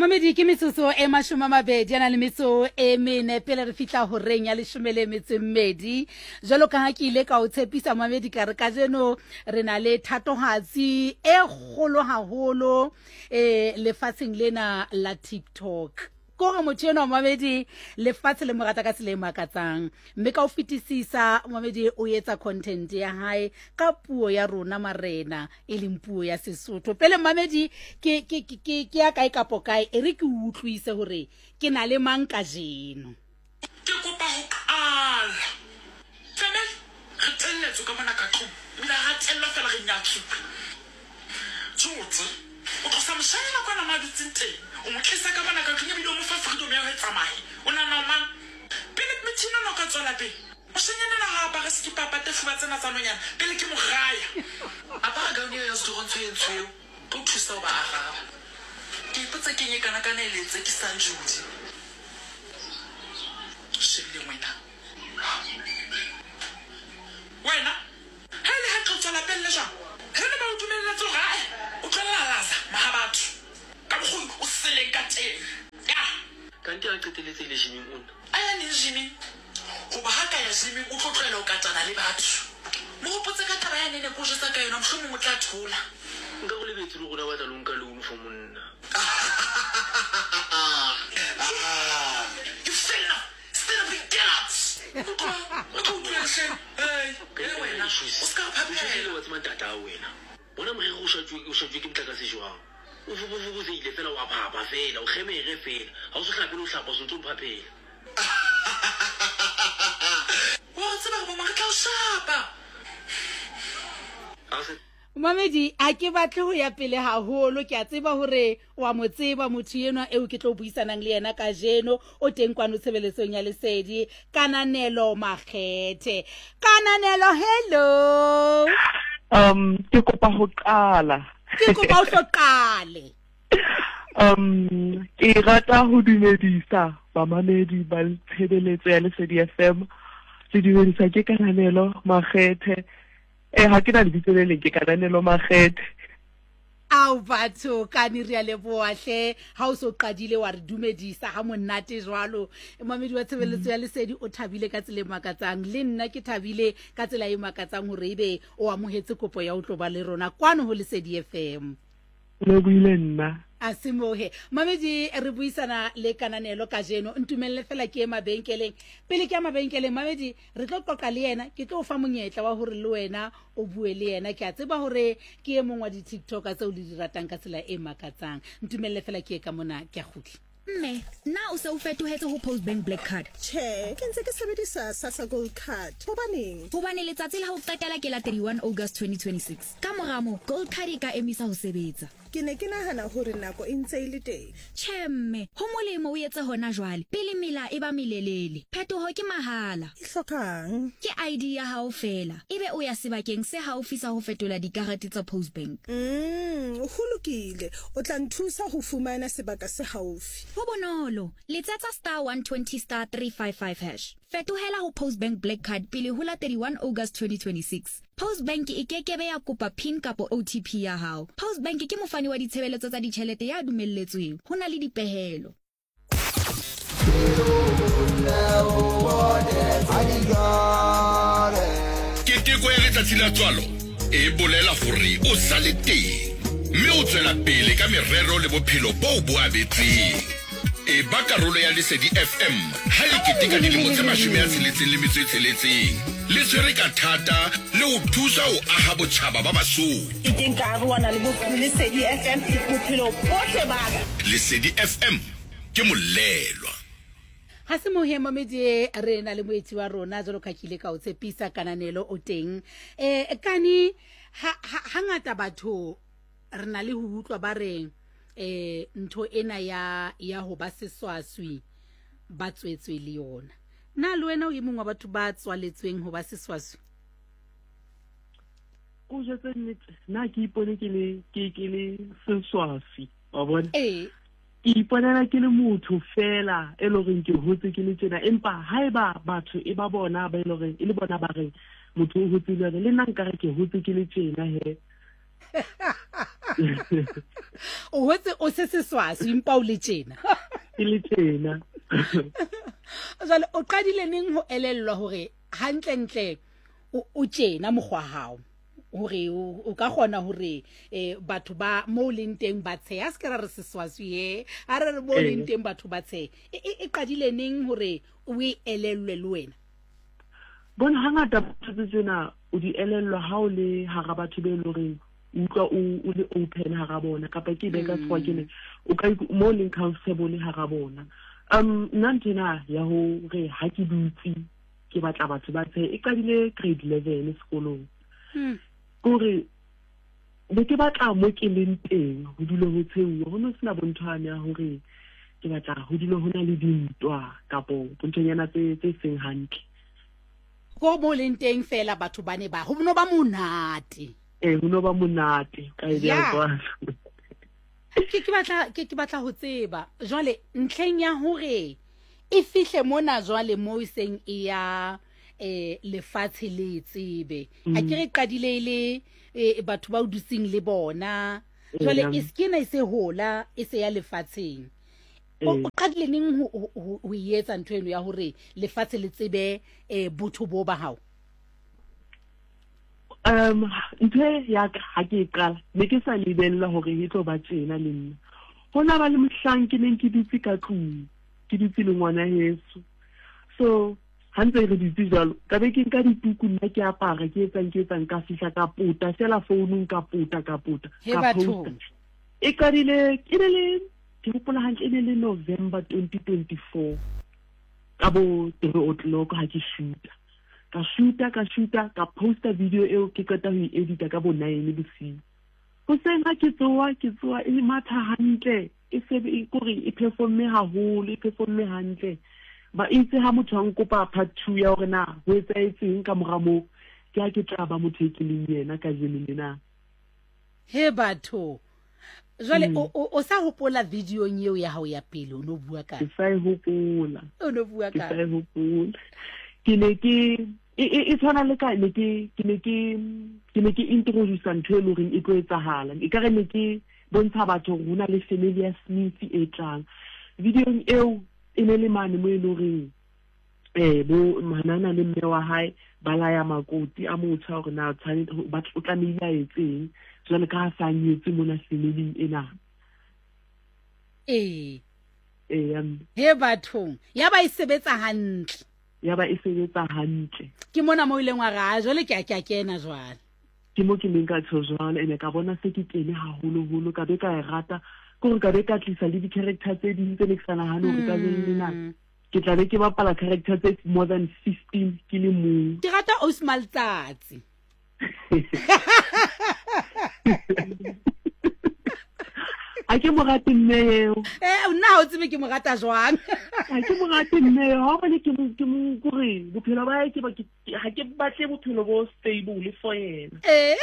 Mamedi ke metsotso e 20 a na le metso e mene pele re fihla horeng ya leshome le metso e mmedi. Jwalo ka ha ke ile ka o tshepisa mamedi ka re kajeno re na le thatohatsi e kgolo haholo eh lefatsheng lena la TikTok. Ke gore motho enwa mamedi lefatshe le mo rata ka tsela e makatsang mme ka ho fetisisa mamedi o etsa content ya hae ka puo ya rona marena e leng puo ya Sesotho. Pele mamedi ke ke ke ke ya kae kapo kae e re ke utlwise hore ke na le mang kajeno. Ke kopa ho qala. Family, re telletswe ka mona ka tlung, ebile ha ra tellwa feela re nyatsuwe. Tsotsi, o tlosa moshanyana kwana mo a dutseng teng, o mo tlisa ka mona ka tlung ebile o mo fa freedom ya ho e tsamaye. O nahana o mang? Pele methini ona o ka tswela pele, moshanyana enwa ha a apare sekipa a pate fuba tsena tsa nonyana pele ke mo raya. Apara gown eo ya sedurontsho e ntsho eo, tlo thusa ho ba araba. Ke ipotsa keng e kanakana e le tsekisang Jodi. Shebileng wena. Wena, ha e le hantle o tswa lapeng le jwang? Heno ba o dumelletse hore ae o tlo lalaza maha batho ka mokgwa o seleng ka teng. Ya. Kante a qetelletse e le gyming o nna. A ya neng gyming? Hoba ha ka ya gyming o tlo tlohela ho katana le batho. Mo hopotse ka taba yane ne ke o jwetsa ka yona mohlomong o tla thola. Nka go lebetse le rona batla lo nka loan for monna. You feel now? Stand up and get out! Utlwa, o tlo utlwang hle. Hey, hey wena, o se ka re phaphela. Wa tseba ntatao wena. Bona moriri o šatšwe o šatšwe ke motlakase jwang. O fokofokosehile fela wa phapha fela, o kgemere fela. Ha o so hlape le ho hlapa o sontse o mphaphela. Wa re tseba re boma re tla o shapa. Ha se Mamedi, a ke batle ho ya pele haholo. Ke a tseba hore wa mo tseba motho enwa eo ke tlo buisanang le yena kajeno. O teng kwano tshebeletsong ya Lesedi. Kananelo Makgethe. Kananelo, hello. Ke kopa ho qala. Ke kopa o hlo qale. Ke rata ho dumedisa bamamedi ba tshebeletso ya Lesedi FM. Le dumedisa ke Kananelo Makgethe. Eh, ha ke na lebitso le leng, ke Kananelo Makgethe. Ao batho, kane re a leboha hle ha o so qadile wa re dumedisa ha monate jwalo. Mamedi wa tshebeletso ya Lesedi o thabile ka tsela e makatsang, le nna ke thabile ka tsela e makatsang hore ebe o amohetse kopo ya ho tlo ba le rona kwano ho Lesedi FM. Le buile nna. A semohe. Mamedi, re buisana le Kananelo kajeno. Ntumelle fela ke ye mabenkeleng. Pele ke ya mabenkeleng, Mamedi, re tlo qoqa le yena. Ke tlo o fa monyetla wa hore le wena o bue le yena. Ke a tseba hore ke e mong wa di-TikToker tseo le di ratang ka tsela e makatsang. Ntumelle fela ke ye ka mona, ke a kgutla. Mme, na o se o fetohetse ho Postbank Black Card? Tjhe, ke ntse ke sebedisa Sassa Gold Card. Hobaneng? Hobane letsatsi la ho qetela ke la 31 August 2026. Ka mora moo, Gold Card e ka emisa ho sebetsa. Ke ne ke nahana hore nako e ntse e le teng. Tjhe mme, ho molemo o etse hona jwale, pele mela e ba melelele. Phetoho ke mahala. E hlokang? Ke ID ya hao feela, ebe o ya sebakeng se haufi sa ho fetola dikarete tsa Postbank. Umm, ho lokile. O tla nthusa ho fumana sebaka se haufi. Ho bonolo. Letsetsa star 120 star 355 hash. Fetohela ho Postbank Black Card pele ho la 31 August 2026. Postbank e ke ke be ya kopa pin kapa OTP ya hao. Postbank ke mofani wa ditshebeletso tsa ditjhelete ya dumelletsweng. Ho na le dipehelo. Keteko ya letsatsi la tswalo e bolela gore o sa le teng mme o tswela pele ka merero le bophelo boo bo abetseng. E ba karolo ya Lesedi FM ha le keteka dilemo tse 66 le tshwere ka thata le ho thusa ho aha botjhaba ba Basotho. Ke ke nka arohana le Lesedi FM bophelo bohle ba ka. Lesedi FM ke molelwa. Ga se mohe momedi re na le moetsi wa rona jalo ka ke ile ka o tshepisa kananelo o teng. Eh kani ha ha ngata batho re na le ho utlwa ba re eh ntho ena ya ya ho ba seswaswi ba tswetswe le yona. Na le wena o e mongwe wa batho ba tswaletsweng ho ba seswaswi? Ko jwetse nnete, na ke ipone ke le ke ke le seswaswi, wa bona? Ee. Ke iponela ke le motho fela e le goreng ke hotse ke le tjena, empa haeba batho e ba bona ba e le goreng e le bona ba reng motho o hotse le yone, le nna nkare ke hotse ke le tjena he. O hotse o se seswaswi empa o le tjena. Ke le tjena. Jwale o qadile neng ho elellwa hore hantlentle o tjena mokgwa hao? Hore o ka kgona hore eh, batho ba mo o leng teng ba tshehe. A se ke ra re seswaswi he. A re re mo o leng teng batho ba tshehe. E, e, e qadile neng hore o e elellwe le wena? Bona hangata ntho tse tsena o di elellwa ha o le hara batho be leng horeng o utlwa o o le open hara bona kapa ke be ka sekgowa ke ne o ka mo leng comfortable hara bona. Nna ntho ena ya hore ha ke dutse ke batla batho ba tshehe e qadile grade 11 sekolong. Ke hore be ke batla mo ke leng teng ho dule ho tshehuwa, ho no sena bonthwane ya hore ke batla ho dule ho na le dintwa kapo bonthonyana tse tse seng hantle. Ko mo leng teng fela batho ba ne ba ho no ba monate. Ee, ho no ba monate ka e beha jwalo. Ke ke batla ke ke batla ho tseba jwale ntlheng ya hore e fihle mona jwale mo e seng e ya eh lefatshe le tsebe. A ke re qadile e le eh, batho ba o dutseng le bona. Jwale e se ke ena e se hola e se ya lefatsheng. O qadile neng ho ho e etsa ntho eno ya hore lefatshe le tsebe eh botho bo ba hao? Ntho e ya ka ha ke e qala ne ke sa lebella hore e tlo ba tjena le nna. Ho na ba le mohlang ke neng ke dutse ka tlung, ke dutse le ngwana heso. So ha ntse re dutse jwalo, ka be ke nka dituku nna ke apara, ke etsang ke etsang, ka fihla ka pota fela founung, ka pota ka pota, ka posta. E qadile e ne le ke hopola hantle e ne le November 2024 ka bo 3 o'clock ha ke shoota. Ka shoota, ka shoota, ka posta video eo ke qeta ho e edita ka bo 9 bosiu. Hoseng ha ke tsoha, ke tsoha e matha hantle, e se e kore e performme haholo, e performme hantle. Ba itse ha motho a nkopa part 2 ya hore na ho etsahetseng ka mora moo, ke ha ke tla ba motho e ke leng yena kajeno lena. He batho. Jwale o sa hopola videong eo ya hao ya pele o no bua ka? Ke sa e hopola. O no bua ka? Ke sa e hopola. Ke ne ke e tshwana le ka ne ke ke ne ke ke ne ke introduce ntho e leng horeng e tlo etsahala. E ka re ne ke bontsha batho hore ho na le family ya Smith e tlang. Videong eo e ne le mane mo e leng horeng eh bo manana le mme wa hae ba laya makoti a motjha hore na tshwanetse o tlamehile a etseng jwale ka ha sa nyetse mona familing ena. Ee. Ee, ya mme. He bathong, ya ba e sebetsa hantle. Ya ba e sebetsa hantle. Ke mona mo ileng wa re, a jwale ke a ke a kena jwale. Ke mo ke neng ka tjho jwalo, ene ka bona se ke kene haholoholo, ka be ka e rata, ke hore ka be ka tlisa le di-character tse ding tse ne ke sa nahane hore kajeno lena ke tla be ke bapala character tse more than 15 ke le mong. Ke rata Ausi Maletsatsi. Ha ke mo rate mme eo. Eh, nna ha o tsebe ke mo rata jwang. Ha ke mo rate mme eo. Ha o bone ke mo ke mo kore bophelo ba hae ke ba ke ha ke batle bophelo bo stable for yena. Eh.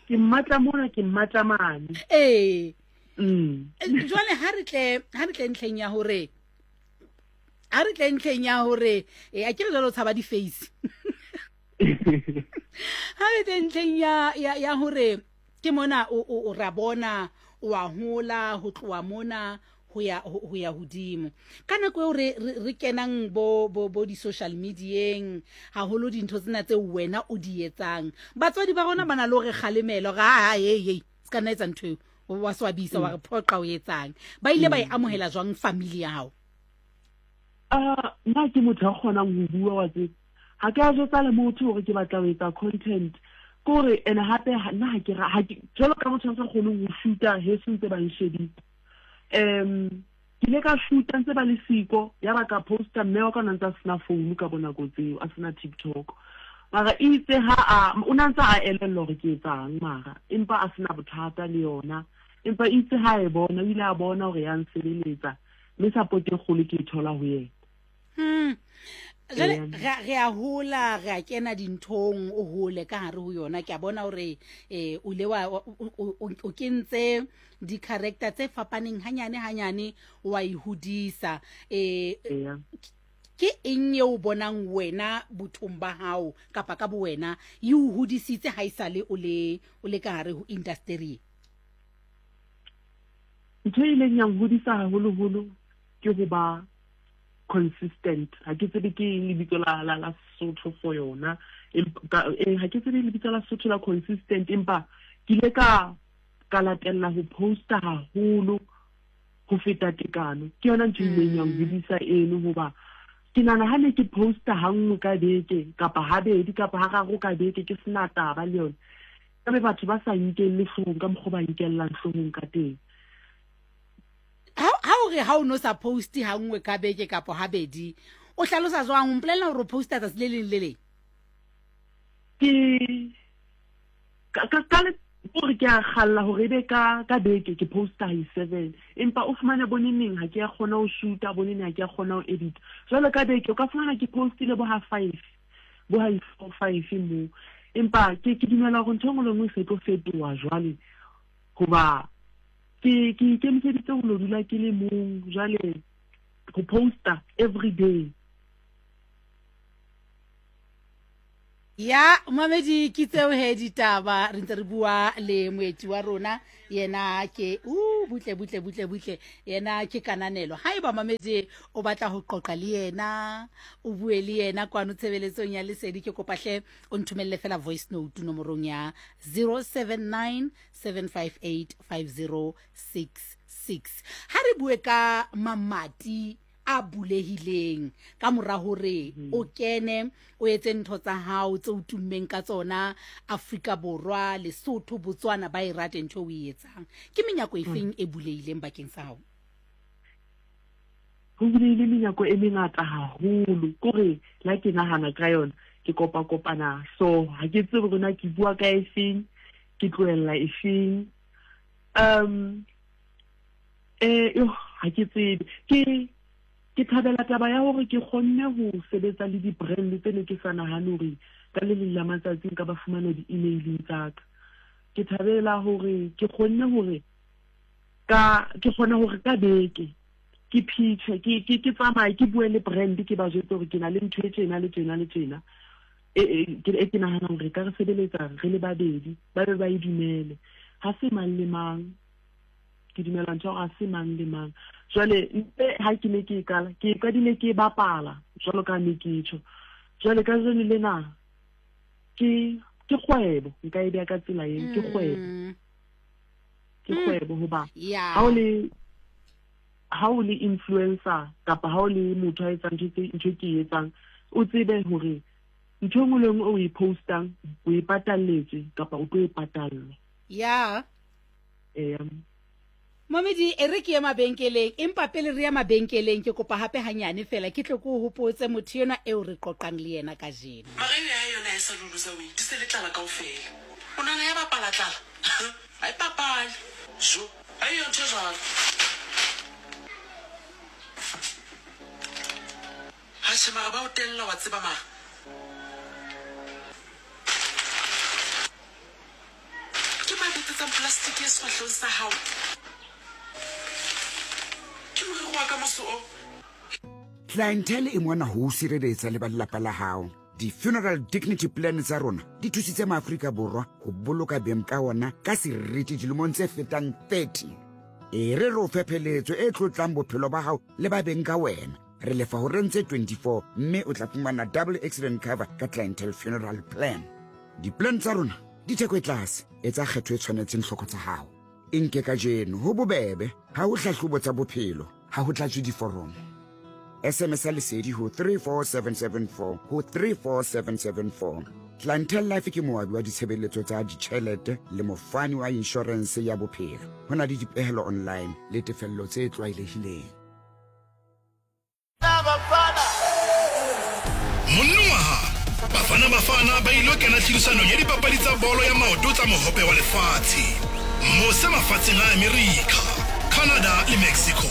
Ke mmatla mona ke mmatla mane. Eh. Jwale ha re tle ha re tle ntlheng ya hore ha re tle ntlheng ya hore eh, a ke re jwale o tshaba di-face ha re tle ntlheng ya ya ya hore ke mona o o ra bona o a hola ho tloha mona ho ya ho ya hodimo ka nako eo re re kenang bo bo bo di-social medieng haholo dintho tsena tseo wena o di etsang batswadi ba rona ba na le hore kgalemelo ga ha hey hey se ka nna etsa ntho eo wa swabisa wa re phoqa o etsang ba ile ba e amohela jwang family ya hao? Nna ke motho ya kgonang ho bua wa tseba ha ke a jwetsa le motho hore ke batla ho etsa content ke hore ene hape nna ha ke ha ke jwalo ka motho a sa kgoneng ho shoota heso ntse ba nshebile ke ile ka shoota ntse ba le siko ya ba ka posta mme wa ka o ne ntse a sena phone ka bonako tseo a sena TikTok mara itse ha a o ne ntse a elellwa hore ke etsang mara empa a sena bothata le yona empa itse ha e bona o ile a bona hore ya nsebeletsa mme support e kgolo ke e thola ho yena. Jwale re a hola re a kena dinthong o hole ka hare ho yona ke a bona hore eh o ile wa o kentse di-character tse fapaneng hanyane hanyane wa e hodisa eh ke eng eo o bonang wena bothong ba hao kapa ka bowena e o hodisitse ha esale o le o le ka hare ho industry? Ntho e ileng ya nhodisa haholoholo ke ho ba consistent. Ha ke tsebe ke eng lebitso la la la Sesotho for yona. Empa eh, ha ke tsebe lebitso la Sesotho la consistent empa ke ile ka ka latella ho posta haholo ho feta tekano. Ke yona ntho e ileng ya nhodisa eno hoba ke nahana ha ne ke posta hanngwe ka beke kapa habedi kapa hararo ka beke ke sena taba le yona. Ka be batho ba sa nkelle hloohong ka mokgwa ba nkellang hloohong ka teng. Ha o re ha o no sa poste ha nngwe ka beke kapo habedi, o hlalosa jwang? O mpolella hore o posta tsatsi le leng le leng? Ke ka ka ka gore ke a galla gore ebe ka ka beke ke posta hi 7 empa o fumane boneneng ha ke ya kgona ho shoota boneneng ha ke ya kgona ho edit jwale ka beke o ka fumana ke postile bo ha 5 bo ha 4 5 mo empa ke ke dumela gore ntho e nngwe le nngwe e se tlo fetoha jwale hoba ke ke ikemiseditse ho lo dula ke le mong jwale go posta every day. Ya mamedi ke tseo he ditaba re ntse re bua le moeti wa rona yena ke u butle butle butle butle yena ke kananelo haeba mamedi o batla ho qoqa le yena o bue le yena kwano tshebeletsong ya lesedi ke kopa hle o nthomelle fela voice note nomorong ya 079 758 5066 ha re bue ka mamati a bulehileng ka mora hore o kene o etse ntho tsa hao tse o tummeng ka tsona Afrika Borwa, Lesotho, Botswana ba e rate ntho o e etsang. Ke menyako efeng e bulehileng bakeng sa hao? Ho bulehile menyako e mengata haholo. Kore la ke nahana ka yona ke kopa-kopana so ha ke tsebe hore na ke bua ka efeng ke tlohella efeng. Um eh yo ha ke tsebe. Ke ke thabela taba ya hore ke kgonne ho sebetsa le di-brand tse ne ke sa nahane hore ka le leng la matsatsi nka ba fumana di-emaileng tsa ka. Ke thabela hore ke kgonne hore ka ke kgona hore ka beke ke pitche ke ke ke tsamaye ke bue le brand ke ba jwetse hore ke na le ntho e tjena le tjena le tjena e e ke e ke nahanang hore ka re sebeletsa re le babedi ba be ba e dumele. Ha se mang le mang ke dumela ntho ya hore ha se mang le mang. Jwale ntle ha ke ne ke e qala ke e qadile ke e bapala jwalo ka ne ke tjho. Jwale kajeno lena ke ke kgwebo nka e beha ka tsela eo ke kgwebo. Ke kgwebo hoba ha o le ha o le influencer kapa ha o le motho a etsang ntho tse ntho e ke e etsang o tsebe hore ntho e nngwe le nngwe o e postang o e patalletswe kapa o tlo e patallwa. Ya. Eya. Momedi e re ke ye mabenkeleng empa pele re ya mabenkeleng ke kopa hape hanyane fela ke tle ke o hopotse motho enwa eo re qoqang le yena kajeno. Mara eo ya hae yona ha e sa le loser weight, e se le tlala kaofela. O nahana ya bapala tlala? Ha e papale. Jo, ha eyo ntho e jwalo. Atjhe mara ba o tella wa tseba mara. Ke mang betsetsang plastic e sefahlehong sa hao? Ke moriri wa ka moso o. Clientele e mona ho o sireletsa le ba lelapa la hao. Di-funeral dignity plan tsa rona di thusitse maAfrika Borwa ho boloka beng ka ona ka seriti dilemong tse fetang 30. E re re o fe pheletso e tlotlang bophelo ba hao le ba beng ka wena. Re lefa horeng tse 24 mme o tla fumana double accident cover ka Clientele Funeral Plan. Di-plan tsa rona di theko e tlase, etsa kgetho e tshwanetseng hloko tsa hao. E nke kajeno, ho bobebe, ha ho hlahlobo tsa bophelo, ha ho tlatswe diforomo. SMS ya Lesedi ho 34774 ho 34774. Clientele Life ke moabi wa ditshebeletso tsa ditjhelete le mofani wa inshorense ya bophelo. Ho na le dipehelo online le tefello tse tlwaelehileng. Monongwaha, Bafana Bafana ba ilo kena tlhodisanong ya dipapadi tsa bolo ya maoto tsa Mohope wa Lefatshe mose mafatsheng a Amerika, Canada le Mexico.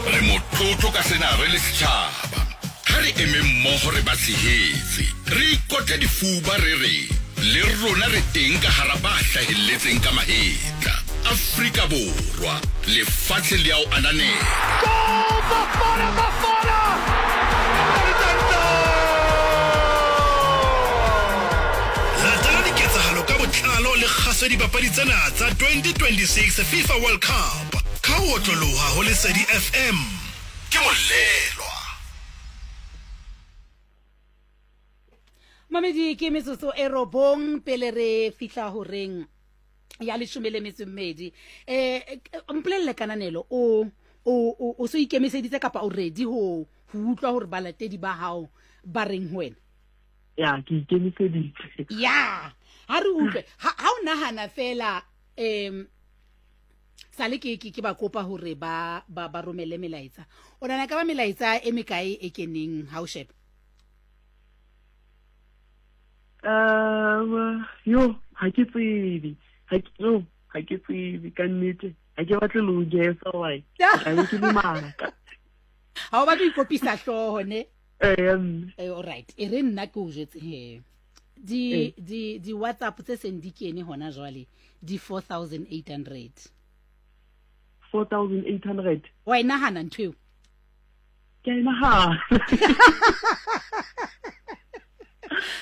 Re motlotlo ka sena re le setjhaba. Ha re emeng mmoho re ba tshehetse, re ikotle difuba re re le rona re teng ka hara ba hlahelletseng ka mahetla. Afrika Borwa, lefatshe le a o ananela. Goal! Bafana Bafana! Latela diketsahalo ka botlalo le kgaso ya dipapadi tsena tsa 2026 FIFA World Cup ka ho otloloha ho Lesedi FM. Ke Molelwa. Mamedi ke metsotso e robong pele re fihla horeng ya leshome le metso mmedi. Um mpolelele kananelo o o o so ikemiseditse kapa o ready ho ho utlwa hore balatedi ba hao ba reng ho wena? Ya, ke ikemiseditse. Ya, ha re utlwe. Ha ha o nahana fela um sale ke ke ke ba kopa hore ba ba ba romele melaetsa. O nahana ka ba melaetsa e mekae e keneng ha o sheba? Um, yo, ha ke tsebe. Ha ke yo, ha ke tsebe ka nnete. Ha ke batle le ho guessa why. Ka be ke le maka. Ha o batle ho ikopisa hlooho ne? Ee, mme. Eh, all right. E re nna ke o jwetse he. Di Ee. di di WhatsApp tse seng di kene hona jwale di 4800. 4800. Wa e nahana ntho eo? Ke a e nahana.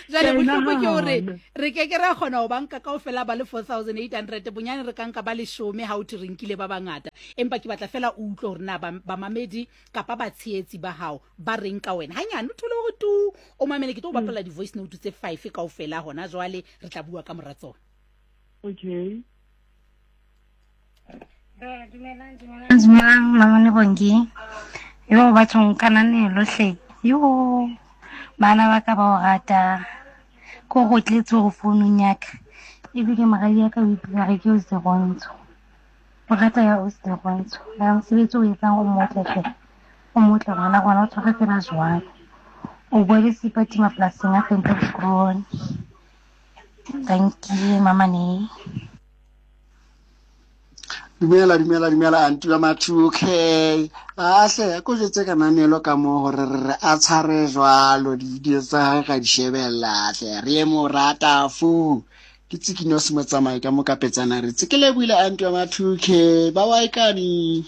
Jwale Ke a e bohloko ke hore nahana. re ke ke ra kgona ho ba nka kaofela ba le 4800 bonyane re ka nka ba leshome ha o thwe re nkile ba bangata. Empa ke batla fela o utlwe hore na bamamedi kapa batshehetsi ba hao ba reng ka wena. Hanyane o thole hore tu o mamele, ke tlo o bapalla di-voice note tse 5 kaofela hona jwale, re tla bua ka mora tsona. Okay. Dumelang, dumelang, dumelang, Mamone Bongi. Yo, bathong kananelo hle. Yo, bana ba ka ba o rata. Ko go tletse go founung ya ka. Ebile moradi ya ka o ipitsa re ke o Serontsho. O rata ya o Serontsho. Ya mosebetsi o etsang o motle hle. O motle ngwana rona o tshware fela jwalo. O bua le Seipati mapolasing a Ventersgroen. Thank you, Mamane. Dumela, dumela, dumela, anti wa ma 2K. Ahle, ko jwetse kananelo ka moo hore re re a tshware jwalo di-video tsa hae ra di shebella hle, re mo rata fu. Ke Tsikino se motsamai ka mo kapetsana re tse ke lebohile anti wa ma 2K. Ba wa ikane.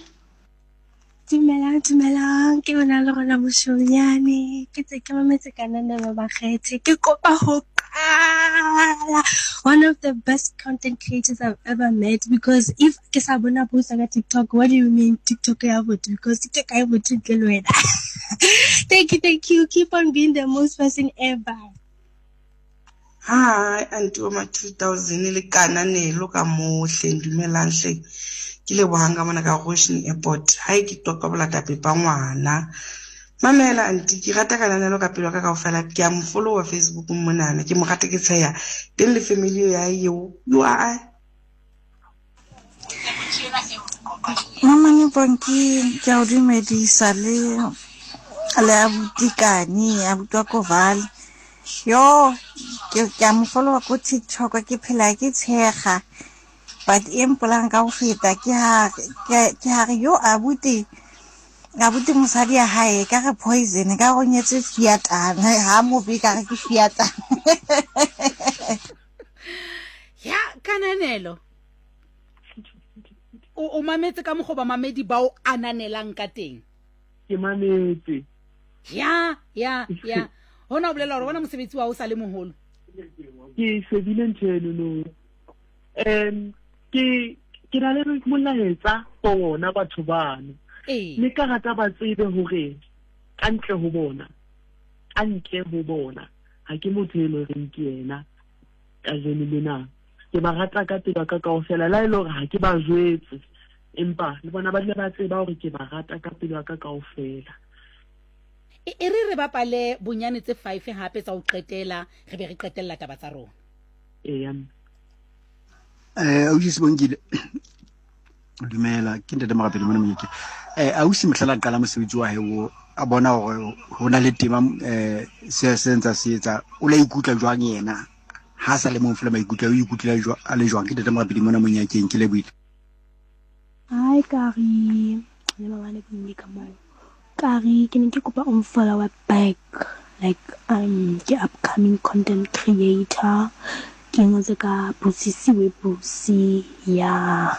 Dumelang, dumelang, ke yona le rona moshonyane. Ke tse ke mametse kananelo bakgethe. Ke kopa ho qala. One of the best content creators I've ever met, because if ke sa bona post ka TikTok, what do you mean TikTok ya botho? Because TikTok ha e botho ntle le wena. Thank you, thank you. Keep on being the most person ever. Hi, auntie wa ma 2000 le kananelo ka mohle dumelang hle. Ke lebohang ka mona ka Goshen Airport. Hae ke toka bolata pepa ngwana. Mamela auntie, ke rata kananelo ka pelo ka kaofela. Ke a mo follower Facebook monana. Ke mo rata ke tsheya. Teng le family ya eo. You are Mamane Bonki, ke a o dumedisa le le abuti Kani, abuti wa Koval. Yo, ke ke a mo followa ko TikTok, ke phela ke tshega. But e mpolang ka go feta ke ha ke ke ha re yo abuti abuti mosadi ya hae ka re poison ka go nyetse fiatana ha mobe ka re ke fiatana. Ya kananelo o o mametse ka mokgwa bamamedi ba o ananelang ka teng. Ke mametse. Ya ya ya hona o bolela gore bona mosebetsi wa o sa le moholo. Ke shebile ntho eno no. Ke ke na le molaetsa for bona batho bano. Ee. Le ka rata ba tsebe hore ka ntle ho bona, ka ntle ho bona ha ke motho e leng horeng ke yena kajeno lena. Ke ba rata ka pelo ya ka kaofela, le ha e le hore ha ke ba jwetse, empa le bona ba dula ba tseba hore ke ba rata ka pelo ya ka kaofela. E, e re re bapale bonyane tse 5 hape tsa ho qetela, re be re qetella taba tsa rona. Eya, mme. Ausi Sibongile, dumela, ke ntate Morapedi mona Monyake. Ausi mohla la qala mosebetsi wa hae o a bona hore ho na le tema se se ntsa se etsa, o la ikutlwa jwang yena ha sa le mong fela maikutlo o ikutlwa jwang a le jwang? Ke ntate Morapedi mona Monyakeng, ke lebohile. Hi Kari, le mabane ke mme ka moo. Kari, ke ne ke kopa o follow back, like ke upcoming content creator. Ke ngotse ka Busisiwe Busi. Yeah.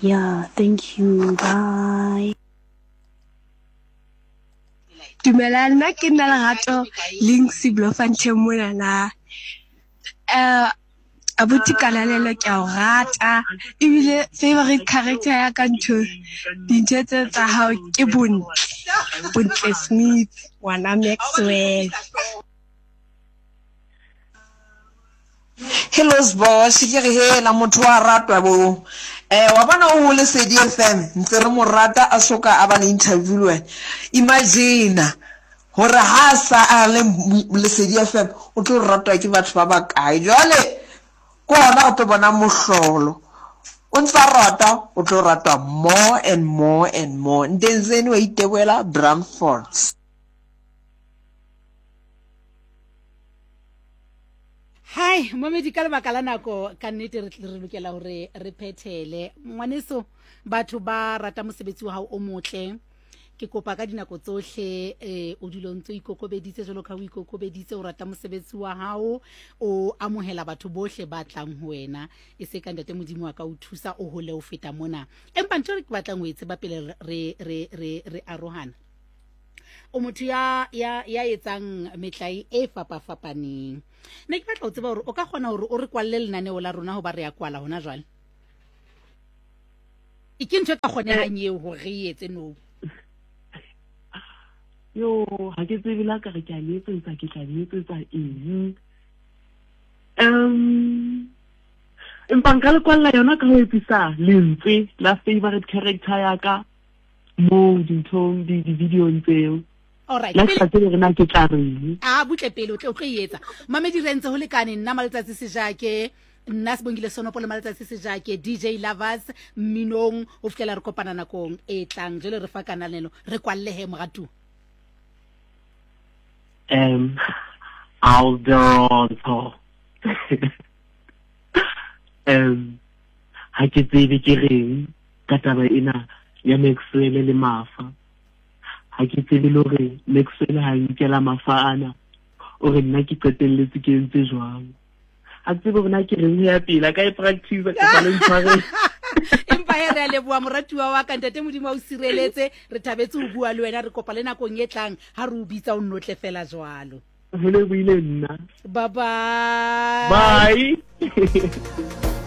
Yeah, thank you. Bye. Dumelang, nna ke nna Lerato Links Bloemfontein monana. Abuti Kananelo ke a o rata ebile favorite character ya ka ntho dintho tse tsa hao ke Bontle, Bontle Smith ngwana Maxwell. Hello Sbosh, ke re hela motho wa ratwa bo. Eh wa bona o Lesedi FM ntse re mo rata a soka a ba le interview le wena. Imagine gore ha a sa a le Lesedi FM o tlo ratwa ke batho ba bakae. Jwale ke hona o tlo bona mohlolo. O ntsa rata o tlo ratwa more and more and more. Ntenzeni wa iteboela Brandfort. Hai, momedi ka lebaka la nako ka nnete re re lokela hore re phethele. Ngwaneso, batho ba rata mosebetsi wa hao o motle. Ke kopa ka dinako tsohle eh o dule o ntse o ikokobeditse jwalo ka o ikokobeditse o rata mosebetsi wa hao, o amohela batho bohle ba tlang ho wena. E se ka ntate Modimo wa ka o thusa o hole o feta mona. Empa ntho e ke batlang ho e tseba pele re re re re arohana. O motho ya ya ya etsang metlae e fapafapaneng. Ne ke batla ho tseba hore o ka kgona hore o re kwalle lenaneo la rona hoba re ya kwala hona jwale. E ke ntho e ka kgonehang eo hore re e etse no. Yo, ha ke tsebe la ka re ke a le etsetsa, ke tla le etsetsa eng. Empa nka le kwalla yona ka ho etsisa lentswe la favorite character ya ka moo dinthong di-videong tseo. Alright, La ke sa tsebe hore na ke tla reng. A butle pele o tle o tlo e etsa. Mamedi re ntse ho lekane nna Maletsatsi Sejake, nna Sibongile Sonopo le Maletsatsi Sejake, DJ Lovers mminong ho fihlela re kopana nakong e tlang. Jwale re fa kananelo, re kwalle he moratuwa. Alderonto. Ha ke tsebe ke reng ka taba ena ya Maxwell le Mafa. Ha ke tsebe le hore Maxwell ha nkela Mafa ana, o re nna ke qetelletse ke entse jwang. Ha ke tsebe hore na ke reng ho ya pele, a ka e practice kapa le ntshwarele. Empa he re a leboha moratuwa wa ka, ntate Modimo a o sireletse. Re thabetse ho bua le wena, re kopa le nakong e tlang ha re o bitsa o nnotle fela jwalo. Ho lebohile nna. Bye bye. Bye.